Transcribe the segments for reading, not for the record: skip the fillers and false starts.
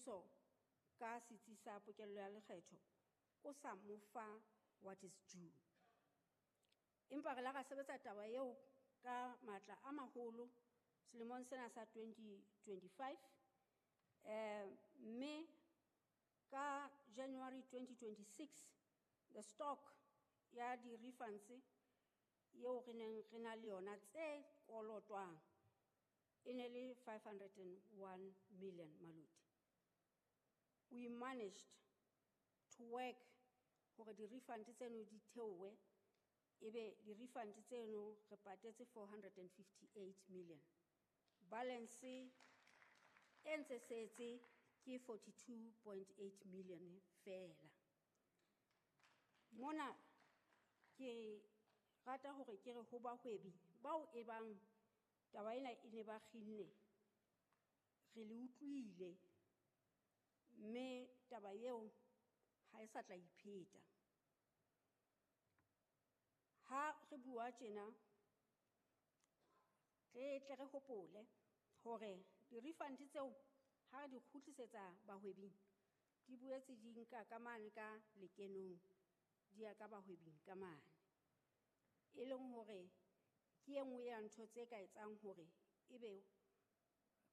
Mmuso ka setsi sa pokello ya lekgetho o sa mo fa what is due. Empa re la ra sebetsa taba eo ka matla a maholo selemong sena sa 2025, mme ka January 2026 the stock ya di-refunds eo re neng re na le yona tse kolotwang e ne le 501 million maluti. We managed to work hore di-refund tseno di theohe, ebe di-refund tseno re patetse 458 million. Balance e ntse setse ke 42.8 million fela. Mona ke rata hore ke re ho bahwebi bao e bang taba ena e ne ba kginne, re le utlwile mme taba eo ha e sa tla ipheta. Ha re bua tjena, re tle re hopole hore di-refund tseo ha re di kgutlisetsa bahwebing, di boetse di nka ka mane ka lekenong, di ya ka bahwebing ka mane. E leng hore ke e nngwe ya ntho tse ka etsang hore ebe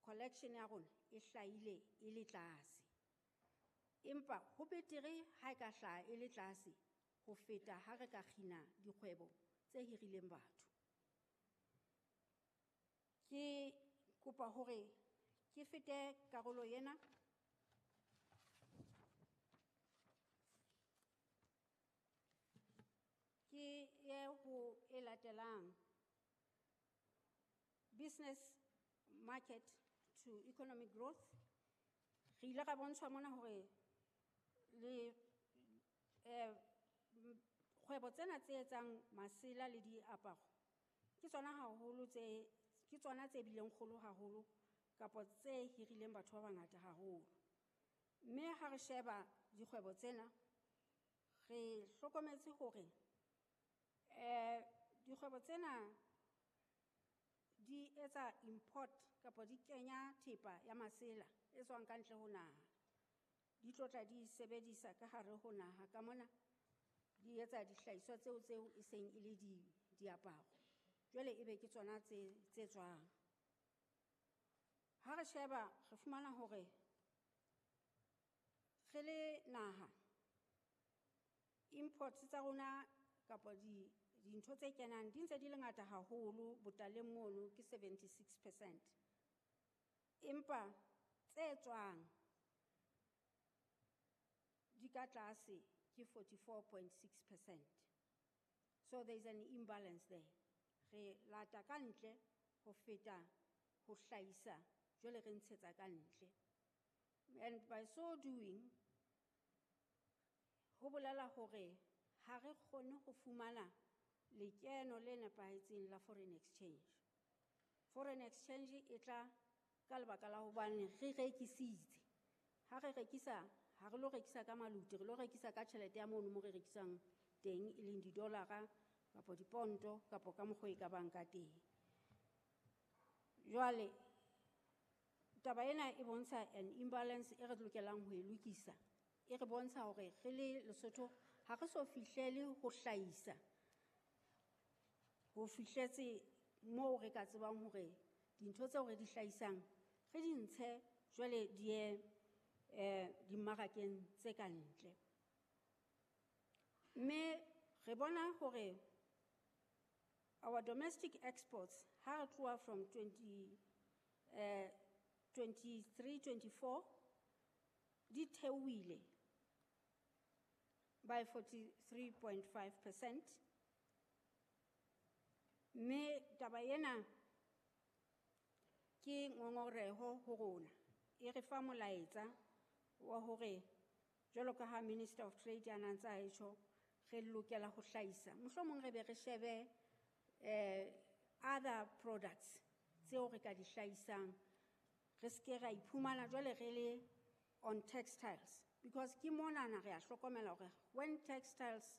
collection ya rona e hlahile e le tlase. Empa ho betere ha e ka hlaha e le tlase ho feta ha re ka kgina dikgwebo tse hirileng batho. Ke kopa hore ke fete karolo ena. Ke ye ho e latelang. Business market to economic growth. Re ile ra bontshwa mona hore le kgwebo tsena tse etsang masela le diaparo ke tsona haholo tse, ke tsona tse bileng kgolo haholo kapa tse hirileng batho ba bangata haholo. Mme ha re sheba dikgwebo tsena, re hlokometse hore dikgwebo tsena di etsa import kapa di kenya thepa ya masela e tswang ka ntle ho naha. Di tlotla di sebedisa ka hare ho naha ka mona, di etsa dihlahiswa tseo tseo e seng e le diaparo. Jwale ebe ke tsona tse tswang. Ha re sheba re fumana hore re le naha imports tsa rona kapa dintho tse kenang di ntse di le ngata haholo botaleng mono ke 76%. Empa tse tswang di ka tlase ke 44.6%. So there is an imbalance there. Re lata ka ntle ho feta ho hlahisa, jwale re ntshetsa ka ntle. And by so doing, ho bolela hore ha re kgone ho fumana lekeno le nepahetseng la foreign exchange. Foreign exchange e tla ka lebaka la hobane re rekisitse. Ha re rekisa, ha re lo rekisa ka maluti, re lo rekisa ka tjhelete ya mono mo re rekisang teng, e leng di-dollar-a kapa diponto kapa ka mokgwa e ka bang ka teng. Jwale taba ena e bontsha an imbalance e re lokelang ho e lokisa. E re bontsha hore re le Lesotho ha re so fihlele ho hlahisa, ho fihletse moo re ka tsebang hore dintho tseo re di hlahisang re di ntshe jwale di ye dimmarakeng tse ka ntle. Mme re bona hore our domestic exports ha re tloha from 23-24 di theohile by 43.5%. Mme taba ena ke ngongoreho ho rona. E re fa molaetsa wa hore jwalo ka ha Minister of Trade a na ntse a tjho, re lokela ho hlahisa. Mohlomong re be re shebe other products tseo re ka di hlahisang. Re ske ra iphumana jwale re le on textiles, because ke monana re a hlokomela hore when textiles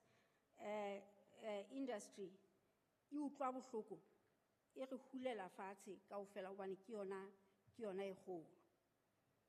industry e utlwa bohloko, e re hulela fatshe kaofela hobane ke yona e kgolo.